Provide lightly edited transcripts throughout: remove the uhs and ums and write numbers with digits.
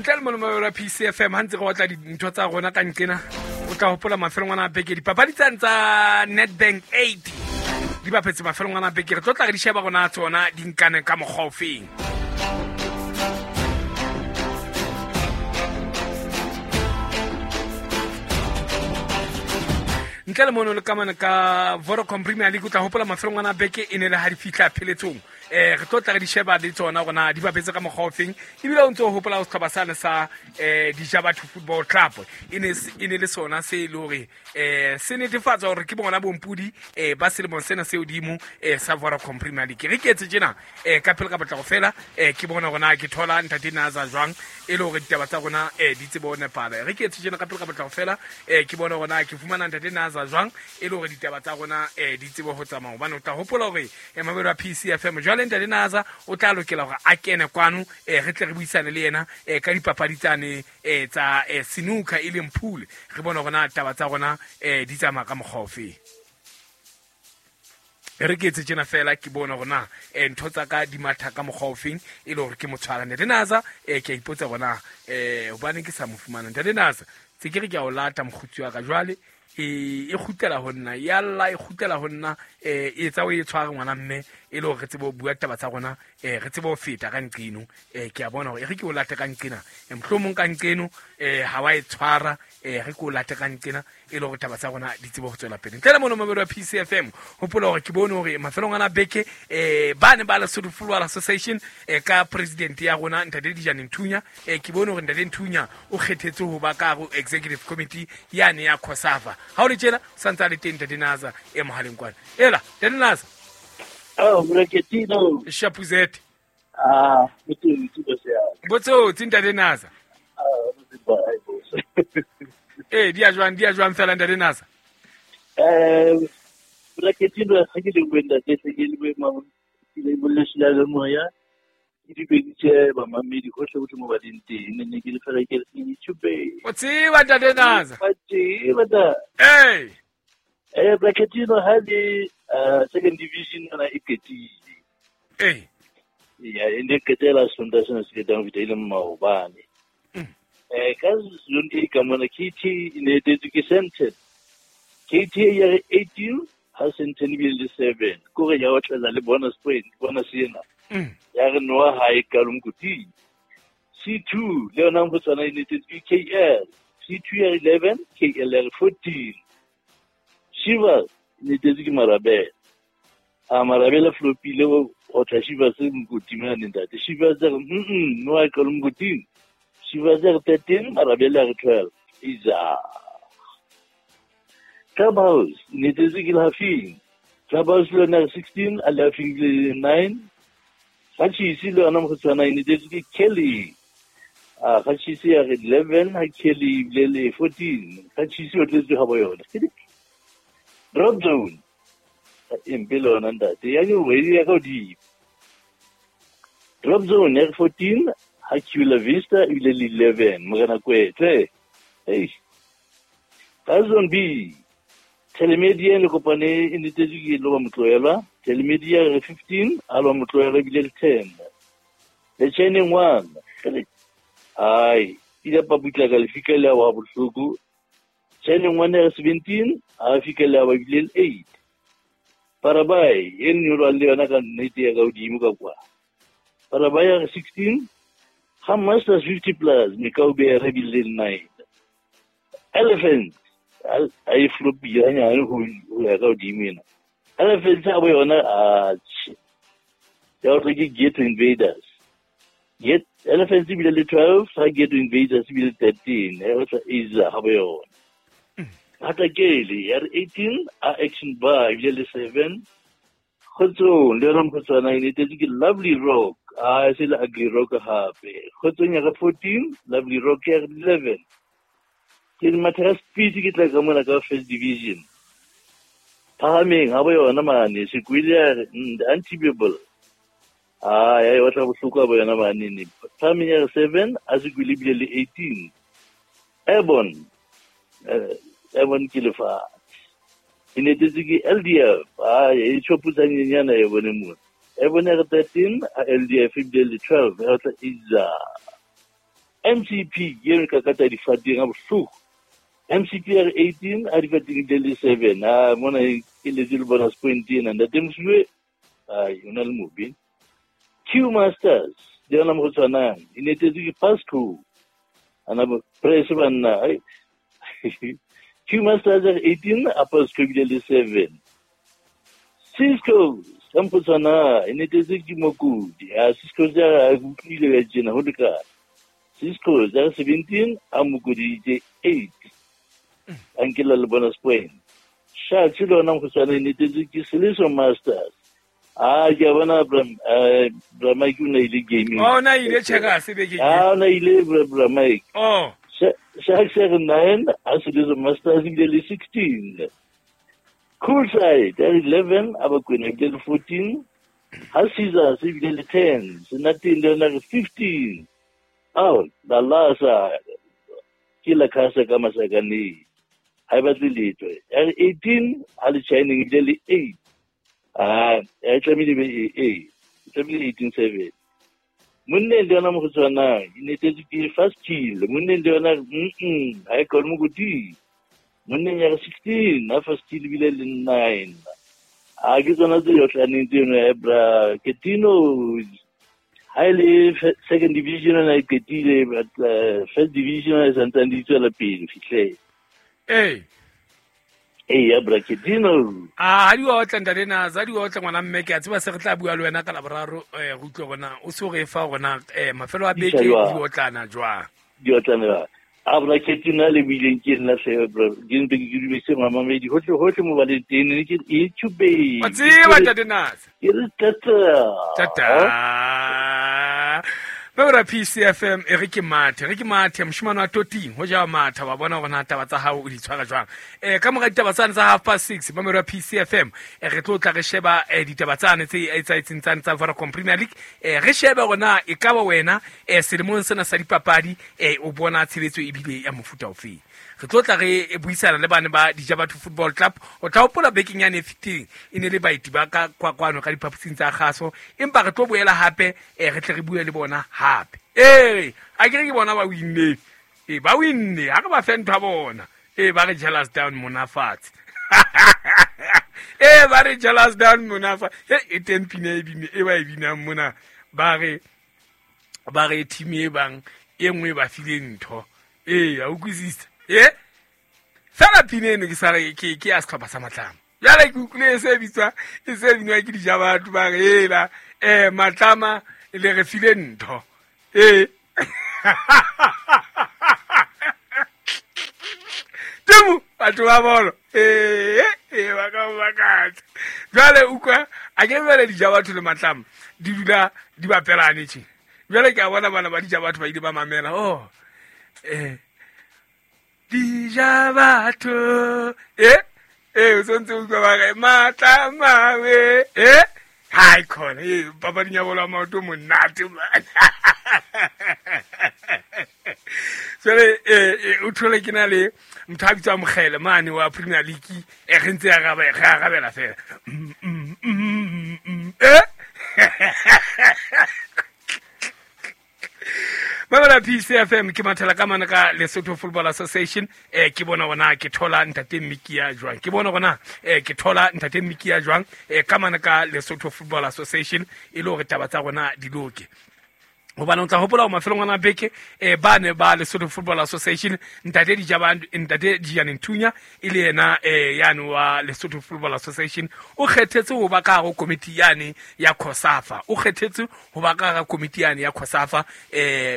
Ntle le mono wa PCFM ha ntse re otla dintho tsa rona ka nqena, o tla hopola mafelong ana a beke dipapadi tsane tsa Nedbank 8 di bapetse mafelong ana a beke, re tlo tla re di sheba rona tsona di nkane ka mokgwa ofeng. Ntle le mono le kamane ka Vodacom Premier League, o tla hopola mafelong ana a beke e ne le ha di fihla pheletsong. Re tlo tla re di sheba le tsona rona di bapetse ka mokgwa ofeng, ebile o ntse o hopola setlhopha sane sa Dijabatho Football Club e ne le sona se e le hore se netefatsa hore ke bona bompudi ba selemong sena se hodimo sa Vodacom Premier League. Re ke etse tjena ka pele ka potlako fela, ke bona hore na ke thola ntate Naza jwang e le hore ditaba tsa rona di tsebe ho nepala. Re ke etse tjena ka pele ka potlako fela, ke bona hore na ke fumana ntate Naza jwang e le hore ditaba tsa rona di tsebe ho tsamaya, hobane o tla hopola hore mabelo a PCFM jwale ntate Naza o tla lokela hore a kene kwano, re tle re buisane le yena ka dipapadi tsane tsa snooker e leng pool, re bone hore na taba tsa rona di tsamaya ka mokgwa ofe. Re ke etse tjena fela ke bone hore na ntho tsa ka di matha ka mokgwa ofeng e le hore ke mo tshwara. Ntate Naza, ke a ipotsa hore na hobaneng ke sa mo fumana. Ntate Naza, tse ke re ke a o lata mokgotsi wa ka jwale, e kgutlela ho nna, ya lla e kgutlela ho nna, e etsa o e tshware ngwana mme e le hore re tsebe ho bua taba tsa rona, re tsebe ho feta ka nqeno. Ke a bona hore e re ke o late ka nqena, mohlomong ka nqeno ha wa e tshwara, re ke o late ka nqena e le hore taba tsa rona di tsebe ho tswela pele. Ntle le mono mabelo a PCFM, hopola hore ke bone hore mafelong ana beke ba ne ba Lesotho Football Association ka president ya rona ntate Dijane Nthunya, ke bone hore ntate Nthunya o kgethetswe ho ba ka ho executive committee yane ya COSAFA. Ha o le tjena o santse a le teng ntate Naza e mohaleng kwana. Ela ntate Naza. Oh, Mreketino. Shapuzete. Ah, ke bose ya. Botsotsi ntate Naza. Ah, bose. Di a jwang fela ntate Naza? Mreketino ha ke le bua ntate, ke le bua ma, ke le bua le moya. Ke di beditse ba mamedi hohle hohle mo ba leng teng, ne ke le fela ke re YouTube. O tseba ntate Naza? Ba tseba da. Ee. Mreketino ha le second division yona e qetile. Ee. Ya, e ne qetela Sontaha sena se fetang ho fihla e leng maobane. Ka zone A ka mona KT e ne etetswe ke Sandton. KT ya re 18 ha Sandton ebile le 7. Kore ya otlela le bonus point, bonus ena. Ya re noa ha e kalo mokoting. C2 le yona ho tswana e ne etetswe ke KL. C2 ya re 11, KL ya re 14. Shivers e ne etetswe ke Marabele. A Marabele flopile ho tla Shivers mokoting mane ntate. Shivers ya re noa e kalo mokoting. Shivers ya re 13, Marabele ya re 12. Iza. Clubhouse ne etetswe ke Lehafing. Clubhouse le yona ya re 16, a Lehafing le 9. Gachisi le yona mokgotsi e ne etetswe ke Kelly. A Gachisi ya re 11, ha Kelly ebile le 14. Gachisi o tletse ha bo yona. Drop zone. Empe le yona ntate. Ya nyowe ya ka hodimo. Drop zone ya re 14, ha Chula Vista ebile le 11. Morena Kwetse. Hey. Ka zone B, Telemedia le kopane e netetswe ke Loba Motloelwa. Telemedia re 15, a Loba Motloelwa ebile le 10. Le Channing 1. Ai, ile paputla ka lefika le wa bohloko. Channing 1 re 17, a fika le wa ebile le 8. Parabai e nyolwa le yona ka nnete ya ka hodimo ka kwa. Parabai re 16, ha Masters 50 plus, Mekaube re bile le 9. Elephant a e flopile hanyane ho ya ka hodimo ena. Elephant a bo yona a ya o ke Ghetto Invaders. Get Elephant ebile le 12, ha Ghetto Invaders ebile 13, ya o tla Iza ha bo yona. Hatakele ya re 18, a Action Bar ebile le 7. Kgotsong le yona mokgotswana e netetse ke Lovely Rock, a se le Ugly Rock hape. Kgotsong ya re 14, Lovely Rock ya re 11. Ke mathera speed ke tla ka mona ka first division. Phahameng ha bo yona mane Sekwele ya re untibable. Ah, ya e batla bohloko ha bo yona mane ne. Phahameng ya re 7, a Sekwele ebile le 18. Airborne, Airborne ke lefatshe. E netetse ke LDF, ah e tjhopotsa nyenyana e bone mona. Airborne ya re 13, a LDF ebile le 12, ya tla Iza. MCP ke eno ka kata difateng a bohloko. MCP ya re 18 a difateng ebile le 7. A mona e letse le bonus point ena ntate Mosuwe, ai o na le mobe. Q Masters le yona mo go tshwanang e netetswe ke Pasco ana press banna. Ai Q Masters ya re 18 a Pasco ebile le 7. Cisco ka mo go tshwanang e netetswe ke Mokudi. A Cisco ya re a utlwile ka tjena ho lekane. Cisco ya re 17 a Mokudi itse 8. A nkela le bonus point. Sharks le yona mo go tshwanang e netetswe ke Seleso Masters. Ah, ke a bona Bra Mike o na ile gaming. Oh, na ile checkers bekeng. Ah, o na ile Bra Mike. Oh. Sharks ya re 9 a Seleso Masters ebile le 16. Cool side ya re 11 a Bakwena ebile le 14. Ha Caesars ebile le 10. Senateng le yona re 15. Ao, la lasa ke la khasa ka masakaneng. Ha e batle letho. Ya re 18 ha le Shining ebile le 8. Ah, e tlamehile be e tlamehile 18-7. Monneng le yona mo go tshwanang e netetswe ke fast kill. Monneng le yona ha e kgone mokoti. Monneng ya re 16 ha fast kill ebile le 9. A ke tsona tse yotlaneng tseno ya Bra Ketino. Ha e le second division na e qetile, but first division e santsane di tswela pele fihle. Ee. Ee ya Bra Ketino. A ha di otla ntate Naza, di otla ngwana mme ke a tseba se re tla bua le wena ka Laboraro, re utlwe gona o se re fa gona mafelo a beke di otlana jwang. Di otlana jwang. A Bra Ketino le buileng ke nna hle bra, ke ntse ke dumedise mamamedi hohle hohle mo ba leng teng, ne ke e tshube. Wa tseba ntate Naza. Ke re tata. Tata. Ba PCFM e re ke mathe moshimane wa toting ho ja matha wa bona hore na taba tsa hao o di tshwara jwang. Ka mora ditaba tsane tsa 6:30 ba PCFM re tlo tla re sheba ditaba tsane tse etsaetseng tsane tsa Vodacom Premier League. Re shebe hore na e ka ba wena selemong sena sa dipapadi o bona tshebetso ebile ya mofuta ofe. Re tlo tla re buisana le bana ba Dijabatho Football Club. O tla hopola bekeng yane e fetileng e ne le baeti ba ka kwano ka diphaposing tsa kgaso, empa re tlo boela hape re tle re bue le bona hape. Ee, a ke re ke bona ba winne. Ee, ba winne, ha re ba fe ntho ya bona. Ee, ba re jealous down mona fatshe. Ee, ba re jealous down mona fatshe. E teng pina e bine e ba e binang mona. Ba re team e bang e nngwe ba file ntho. Ee, a utlwisisa. E fela pina eno ke sa re ke ya setlhopha sa Matlama. Jwale ke utlwile e se bitswa e se binwa ke Dijabatho ba re ela Matlama le re file ntho. Ee. Temo batho ba bolo. Ee, ba ka makatsa. Jwale utlwa a ke bele Dijabatho le Matlama di dula di bapelane tje. Jwale ke a bona bana ba Dijabatho ba ile ba mamela. Oh. Dijabatho. O sontse utlwa ba re Matlama we. Hai khona papading ya bolo ya maoto monate man. Jwale o thole ke na le motho a bitswang Mokgele mane wa Premier League re ntse re arabela fela. Mamela PCFM ke mathela ka mane ka Lesotho Football Association. Ke bona gona ke thola ntate Mikia jwang. Ke bona gona ke thola ntate Mikia jwang ka mane ka Lesotho Football Association e le hore taba tsa rona di loke. Hobane o tla hopola hore mafelong ana beke ba ne ba Lesotho Football Association ntate Dijane Nthunya e le yena yane wa Lesotho Football Association o kgethetse ho ba ka hare komiti yane ya COSAFA. O kgethetse ho ba ka hare komiti yane ya COSAFA.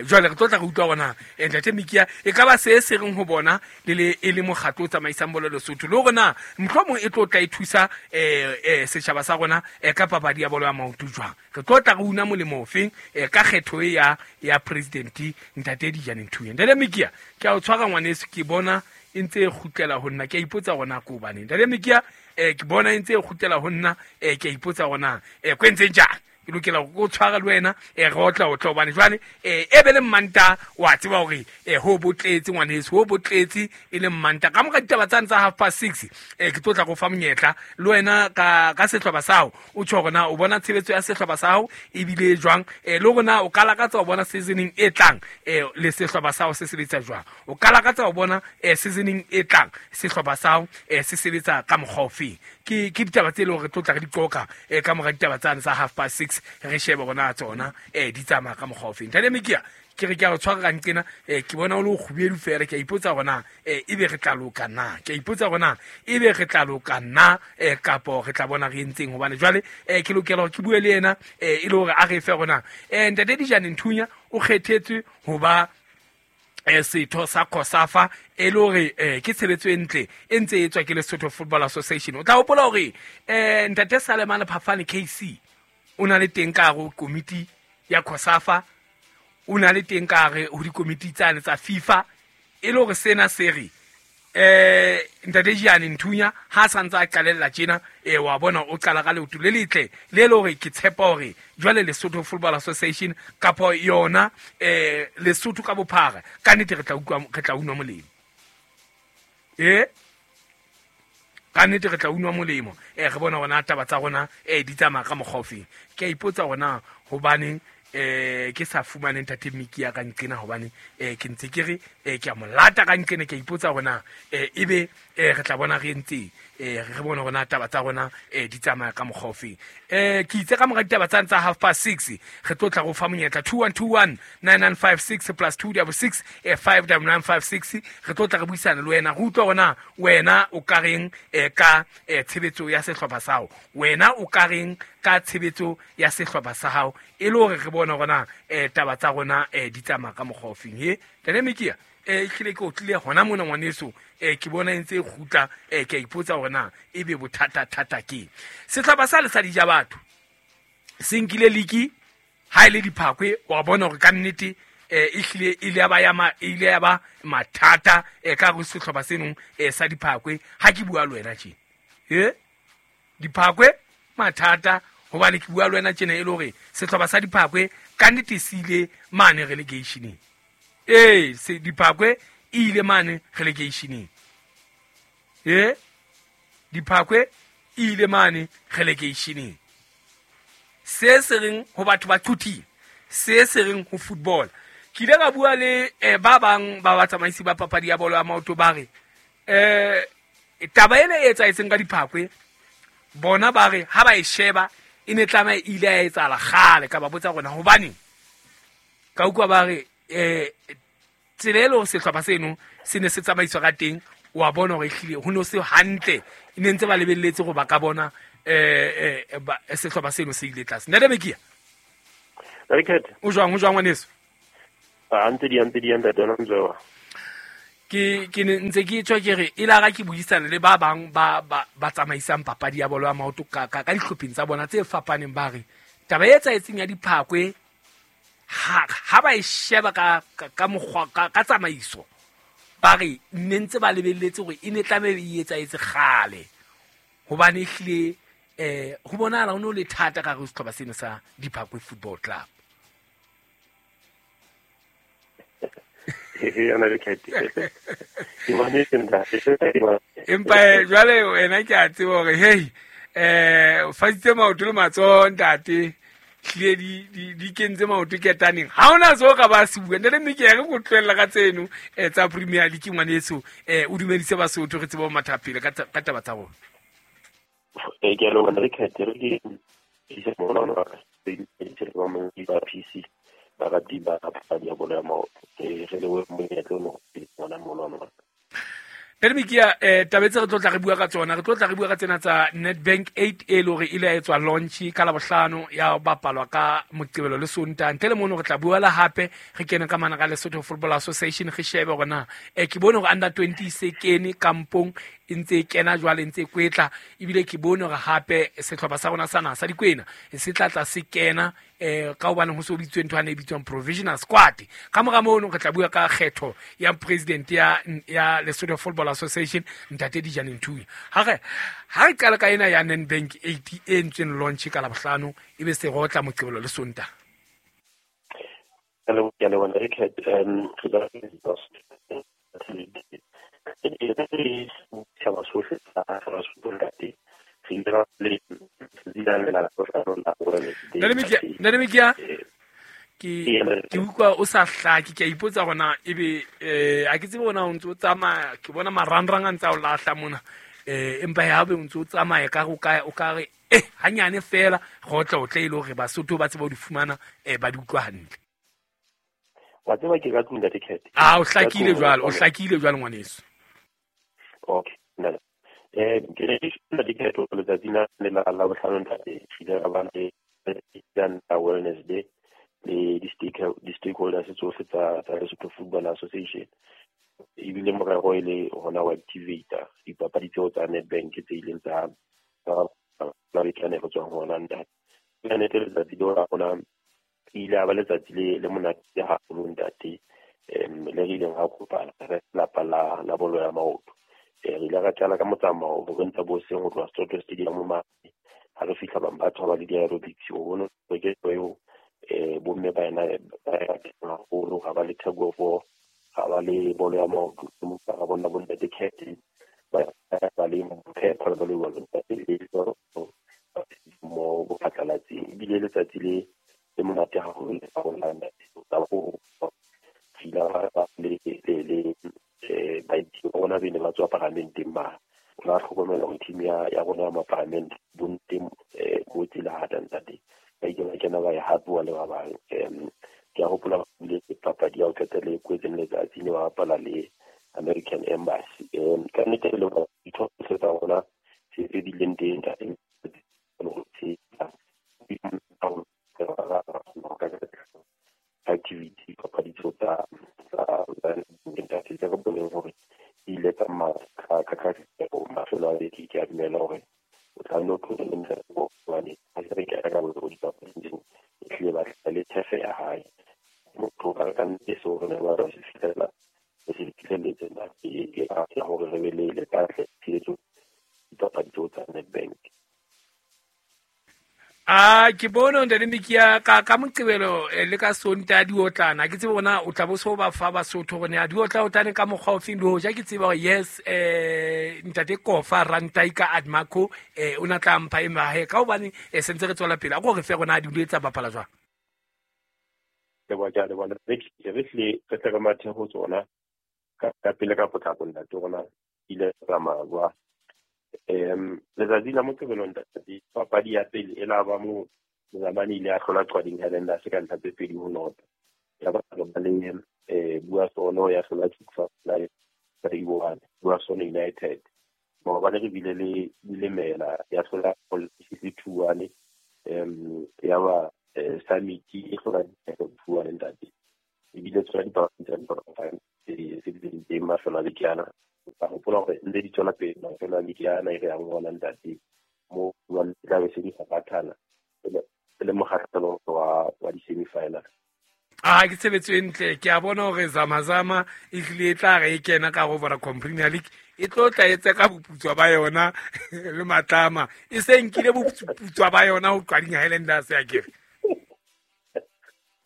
Jwale re tlo tla re utlwa hore ntate Mikia e ka ba se se reng ho bona le le e le mokgatlo o tsamaisang bolo Lesotho le hore na mohlomong e tlo tla e thusa setjhaba sa rona ka papadi ya bolo ya maoto jwang. Re tlo tla re una molemo ofeng ka kgetho e ya president ntate Dijane Nthunya. Ntate Mikia ke a o tshwara ngwaneso, ke bona e ntse e kgutlela ho nna, ke a ipotsa hore na ko hobaneng. Ntate Mikia ke bona e ntse e kgutlela ho nna, ke a ipotsa hore na ko entseng jang. Ke lokela go tshwara le wena re otla otla hobane jwale e be le mmanta wa tseba hore ho botletse ngwaneso, ho botletse e le mmanta. Ka mora ditaba tsane tsa 6:30 ke tlo tla go fa monyetla le wena ka sehlopha sa hao, o tjho hore na o bona tshebetso ya sehlopha sa hao ebile jwang, le hore na o ka lakatsa ho bona seasoning e tlang le sehlopha sa hao se sebetsa jwang, o ka lakatsa ho bona seasoning e tlang sehlopha sa hao se sebetsa ka mokgwa ofeng. Ke ditaba tse leng hore re tlo tla re di qoqa ka mora ditaba tsane tsa 6:30, re shebe hore na tsona di tsamaya ka mokgwa ofeng. Ntate Mekia, ke re ke a o tshwara ka nqena, ke bona o le o kgubedu fela, ke a ipotsa hore na ebe re tla loka na, ke a ipotsa hore na ebe re tla loka na kapo re tla bona re entseng, hobane jwale ke lokela hore ke bue le yena e le hore a re fe hore na ntate Dijane Nthunya o kgethetswe ho ba setho sa COSAFA, e le hore ke tshebetso e ntle e ntse e etswa ke Lesotho Football Association. O tla hopola hore ntate Salemane Phafane KC o na le teng ka hare ho komiti ya COSAFA, o na le teng ka hare ho dikomiti tsane tsa FIFA, e le hore sena se re ntate Dijane Nthunya ha sa ntse a qalella tjena, wa bona o qala ka leoto le letle le le hore ke tshepa hore jwale Lesotho Football Association kapa yona Lesotho ka bophara ka nnete re tla utlwa, re tla unwa molemo. Ka nnete re tla unwa molemo, re bona hore taba tsa rona di tsamaya ka mokgwa ofeng. Ke a ipotsa hore na hobaneng ke sa fumane ntate Mekia ka nqena, hobane ke ntse ke re ke a mo lata ka nqena, ke a ipotsa hore na ebe re tla bona re entseng, re bone hore na taba tsa rona di tsamaya ka mokgwa ofeng. Ke itse ka mora ditaba tsane tsa 6:30 re tlo tla go fa monyetla 2121 9956 plus 266 59956, re tlo tla re buisana le wena, re utlwa hore na wena o ka reng ka tshebetso ya sehlopha sa hao, wena o ka reng ka tshebetso ya sehlopha sa hao, e le hore re bone hore na taba tsa rona di tsamaya ka mokgwa ofeng. He Ntate Mekia, ehlile ke o tlile hona mona ngwaneso, ke bona e ntse e kgutla, ke a ipotsa hore na ebe bothata-thata ke sehlopha sa le sa dija batho se nkile liki ha e le diphakwe, wa bona hore ka nnete ehlile e ile ya ba ya ma, e ile ya ba mathata ka hare sehlopha senong sa diphakwe. Ha ke bua le wena tje, diphakwe mathata, hobane ke bua le wena tjena e le hore sehlopha sa diphakwe ka nnete se ile mane relegationeng. Se diphakwe e ile mane relegationeng. Diphakwe e ile mane relegationeng. Se se reng ho batho ba quthing, se se reng ho football. Ke ile ka bua le ba bang ba batsamaisi ba papadi ya bolo ya maoto, ba re taba ena e etsahetseng ka diphakwe, bona ba re ha ba e sheba e ne tlameha e ile ya etsahala kgale. Ka ba botsa rona hobaneng, ka utlwa ba re tsela e le hore sehlopha seno se ne se tsamaiswa ka teng, wa bona hore ehlile ho no se hantle, e ne ntse ba lebelletse hore ba ka bona sehlopha seno se ile tlase. Ntate Mekia, o jwang, o jwang ngwaneso? Ntse di ntate ona Mzwewa. Ke ne ntse ke tswa ke re e la ke buisana le ba bang ba ba tsamaisang papadi ya bolo ya maoto ka dihlopheng tsa bona tse fapaneng, ba re taba e etsahetseng ya diphakwe ha ba e sheba ka mokgwa ka tsamaiso, ba re ne ntse ba lebelletse hore e ne tlameha e etsahetse kgale, hobane ehlile ho bonahala ho no le thata ka hare ho sehlopha seno sa Diphakwe Football Club. Empa jwale wena ke a tseba hore hey o fasitse maoto le matsoho ntate, hlile di kentse maoto ketaneng, ha hona seo ka ba se bua. Ntate Mekia, re go tlohella ka tseno tsa Premier League ngwaneso, o dumedise Basotho re tsebe ho matha pele ka taba tsa rona. Ke a leboha Richard, re le isa mona ba ba PC barati ba papadi ya bolo ya maoto, re lebohe monyetla ono ngwana mona. Ntate Mekia, taba tse re tlo tla re bua ka tsona, re tlo tla re bua ka tsena tsa Nedbank 8 e le hore ile ya etswa launch ka Labohlano, ya bapalwa ka Moqebelo le Sontaha. Ntle le mono re tla bua la hape re kene ka mana ka Lesotho Football Association, re shebe hore na ke bone hore under 20 se kene kampong e ntse e kena jwale, ntse e kwetla, ebile ke bone hore hape sehlopha sa rona sa naha sa Dikwena se tla tla se kena ka hobane ho so bitswe ntho ane e bitswang provisional squad. Ka mora mono re tla bua ka kgetho ya president ya Lesotho Football Association, Ntate Dijane Nthunya. Ha re qala ka ena ya Nedbank 80 e ntseng launch ka Labohlano, ebe se rotla Moqebelo le Sontaha. Ke a leboha Richard. Setjhaba sohle sa Basotho ntate, re ile ra le Ntate Mekia, ke utlwa o sa hlake, ke a ipotsa hore ebe a ke tsebe hore o ntse o tsamaya, ke bona marangrang a ntse a o lahla mona, empa ha be o ntse o tsamaya ka o ka re hanyane fela go tla o tle ile hore Basotho ba tsebe ho di fumana, ba di utlwa hantle. Wa tseba ke ka tlung Ntate Cat. O hlakile jwalo, o hlakile jwalo ngwaneso. Okay, nna ke re Ntate Cat letsatsi la Labohlano ntate, re ile ra ba le la Wellness Day le di-stakeholders tsohle tsa Lesotho Football Association. Ebile morero e le hona ho activate dipapadi tseo tsa Nedbank tse ileng tsa la bekane go tswang hona ntate. Ka nnete letsatsi leo la rona ile a ba letsatsi le monate haholo ntate, le re ileng ra kopana re lapa la bolo ya maoto. Re ile ra qala ka motsamao bo re ntse bo seng ho tloha Soweto Stadium mane, ha re fihla bang ba thoba le di-aerobics, o bone hore ke eo bomme ba ena ba haholo, ha ba le tug of war, ha ba le bolo ya maoto, ra bona bo ntate Cat ba le phepha ba le jwalo ntate, le mo bophatlalatseng. Ebile letsatsi le monate haholo le rona ntate, ka ho fila ba le baeti ba rona bene ba tswa paramenteng mane. O la hlokomela hore team ya rona ya maparamente bonte mo tsela hata ntate, ba ile ba kena ba e hapuwa le ba bang. Ke a hopola bile papadi ya ho qetela e kwetseng letsatsi ne ba bapala le American Embassy. Ka nnete le ditho tsohle tsa rona tse bileng teng ntate, activity papadi tseo tsa ntate tse re boneng hore di ile tsa ka mafelo a beke. Ke a dumela hore o tla nno tlohele ntate hobane ha se re kena ka bolo dipapading tseo, e hlile ba tla le thefe ya hae. Motho ka ka nnete seo re ne ba re se fihlela, re se fihlelletse ntate, ke ya hore re be le katle tshehetso dipapadi tseo tsa Nedbank. Ke bone Ntate Mekia ka Moqebelo le ka Sontaha di otlana. Ke tsebe bona o tla bo so ba fa Basotho hore ne di otla otlane ka mokgwa ofeng, le hoja ke tseba hore yes Ntate Kofa Rantai ka Admaco o na tla mpha e mahe ka hobane sentse re tswela pele. A ko re fe rona di etsa bapala jwang? Le bona le bona re tle re tle re mathe ho tsona ka pele ka potlako ntate rona ile tsamaya jwang. Letsatsi la Moqebelo ntate, papadi ya pele e la ba mo Mozamane ile a hlola Qwading Highlanders ka ntlha tse 2-0. Ya ba ba le Bua Sono ya hlola Chikfa 3-1, Bua Sono United. Maobane re bile le Dilemela ya hlola CC 2-1, ya ba Samiti e hlola 2-1 ntate. Ebile tsona dipapadi tsa dipapadi tse di teng mafelo a beke ana. Ka hopola hore ntse di tswela pele mafelo a beke ana e re yang hona ntate, mo jwale tla be se di fapathana e le mokgahlelo wa di-semi-final. Ke tshebetso e ntle. Ke a bona hore Zamazama e hlile e tla re e kena ka ho Vodacom Premier League, e tlo tla etse ka boputswa ba yona le matlama, e se nkile boputswa ba yona ho Qwading Highlanders ya kere.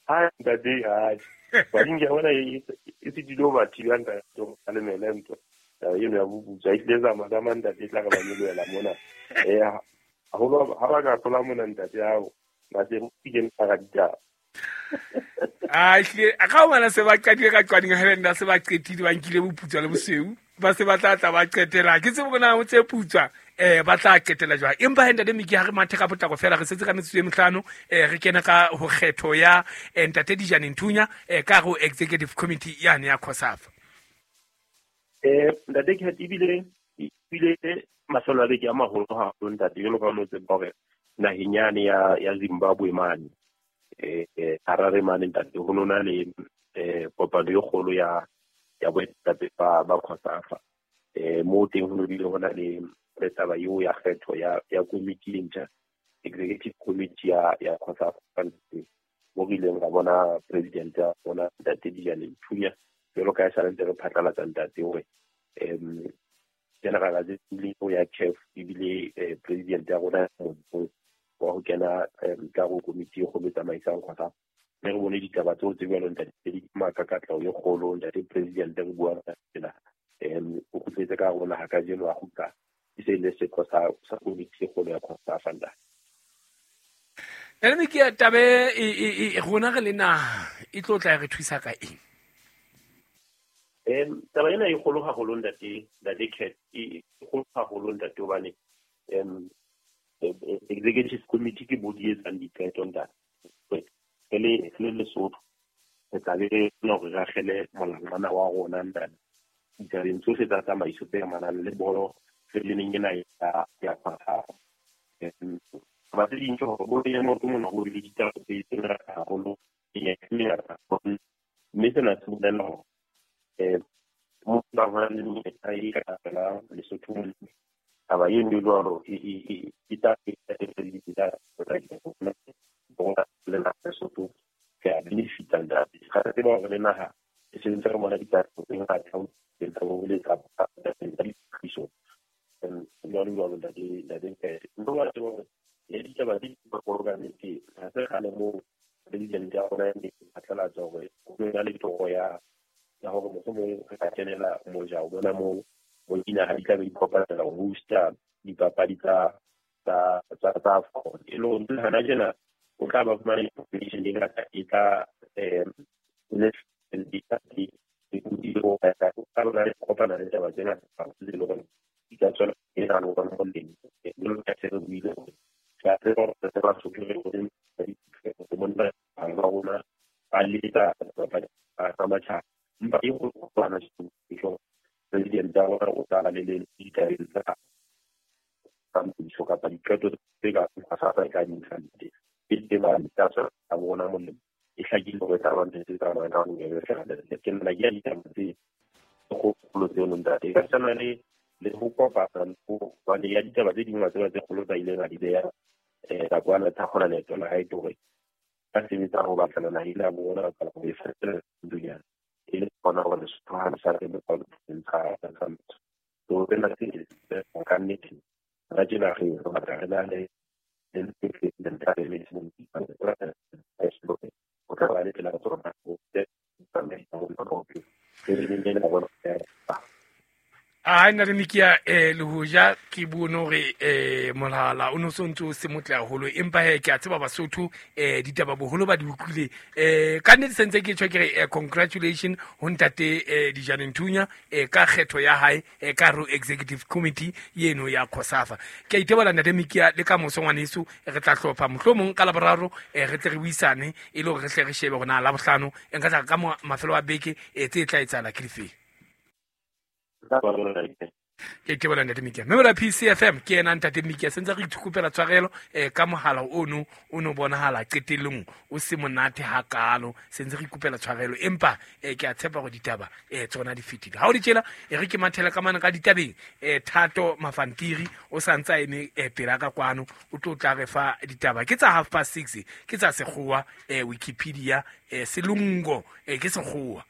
Ha ntate, ha Qwading ke bona e se dilo ba thibang ntate ka lemele ntho eno ya boputswa e tlile Zamazama ntate, e tla re ba nyolohela mona. Haholo ha ba ka hlola mona ntate hao ba se ke ntara ditaba. Ehlile ka hobane se ba qadile ka Qwading Highlanders, se ba qetile ba nkile boputswa le bosweu, ba se ba tla tla ba qetela. Ke tsebe hore na ho tse putswa ba tla qetela jwang. Empa he Ntate Miki, ha re mathe ka potlako fela, re setse ka metsotso e mehlano, re kene ka ho kgetho ya Ntate Dijane Nthunya ka ho Executive Committee yane ya COSAFA. Ntate Cat, ebile mafelo a beke a maholo haholo ntate, jwalo ka o tseba hore naheng yane ya Zimbabwe mane Harare mane ntate, ho nona le kopano e kgolo ya boetapele ba COSAFA. Mo teng ho bile hona le taba eo ya kgetho ya komiti e ntjha, executive committee ya COSAFA, mo re ileng ra bona president ya rona Ntate Dijane Nthunya, jwalo ka e sale ntse re phatlalatsa ntate hore general assembly ya CAF ebile president ya rona wa ho kena ka go komiti e kgolo e tsamaisang COSAFA. Mme re bone ditaba tseo tse jwalo ntate di maka katleho e kgolo. Ntate president re bua tsena o kgutletse ka rona ha kajeno a kgutla e se le setho sa komiti e kgolo ya COSAFA ntate. Ene ke tabe e rona re le naha e tlo tla re thusa ka eng? Taba ena e kgolo haholo ntate Cat, e kgolo haholo ntate hobane executive committee ke body e etsang diqeto ntate. Re le Lesotho re tla be re kgona hore re akgele molangwana wa rona ntate ditabeng tsohle tsa tsamaiso tse amanang le bolo feleneng ena ya COSAFA. Taba tse ding ke hore bolo ya maoto mona ho bile ditaba tse ngata haholo, mme sena se bolela hore mo ba hona le menyetla e ka felang Lesotho. Taba eno e jwalo e tla le naha Lesotho re a benefita ntate. Ga re tseba hore le naha e sentse re bona ditaba tse ngata tsa bo le tsa ditlhahiso jwalo jwalo ntate Cat. Mme wa tseba hore ya ditaba tse di kgolo ka nnete ha se kgale moo president ya rona e phatlalatsa hore ho na le toro ya hore mohlomong re ka kenela moja o bona moo dinaha di tla be di kopanela ho hosta dipapadi tsa AFCON. E le hore hana tjena o tla ba fumana information e ngata e tla kopana le taba tse ngata tse leng hore di ka tswela e na le rona molemo. Jwalo ka se re buile hore re a tseba hore re Basotho re monna bang ba rona ba letsa dipapadi tsa matjhaba, empa e kgolo president ya rona o tla ba le ditabeng tsa tsamaiso kapa diqeto tse ka COSAFA e ka di nkang teng. E teng tsa tswela rona molemo, e hlakile hore e tla ba ntho tse tsamayang ka bobebe feela. Ke nna ke ya ditaba tse kgolo tseno ntate. E ka tshwana le ho kopana hobane ya ditaba tse ding wa tseba tse kgolo tsa ileng a di beha nakwana tsa kgona leeto la hae ke hore ba sebetsa ho batlana naha ena ya bona kapa ho e fetola nonyana e le hona hore Lesotho ha le sa re tsa motho. So tsena tse ka nnete hona tjena re batla re na le o tla ba le tsela tsona ho a nna le Mikia le hoja ke bone hore mohala o no so ntse o se motle haholo, empa he ke a tseba Basotho ditaba boholo ba di utlwile. Ka nnete sentse ke tjho ke re congratulation ho ntate Dijane Nthunya ka kgetho ya hae ka ro executive committee yeno ya COSAFA. Ke a itebola ntate Mikia, le ka moso ngwaneso re tla hlopha mohlomong ka Laboraro re tle re buisane e le hore re hle re shebe hore na Labohlano e nka tla ka mafelo a beke tse tla etsahala ke difeng. Ke itebola ntate Mikia. Mme mola PCFM ke yena ntate Mikia sentse re ithukopela tshwarelo ka mohala ono o no bonahala qetellong o se monate hakalo, sentse re ikopela tshwarelo, empa ke a tshepa hore ditaba tsona di fetile. Ha o di tjela e re ke mathela ka mane ka ditabeng Thato Mafantiri o sa ntse a eme pela ka kwano, o tlo tla re fa ditaba ke tsa 6:30 ke tsa sekgowa Wikipedia selungo ke sekgowa.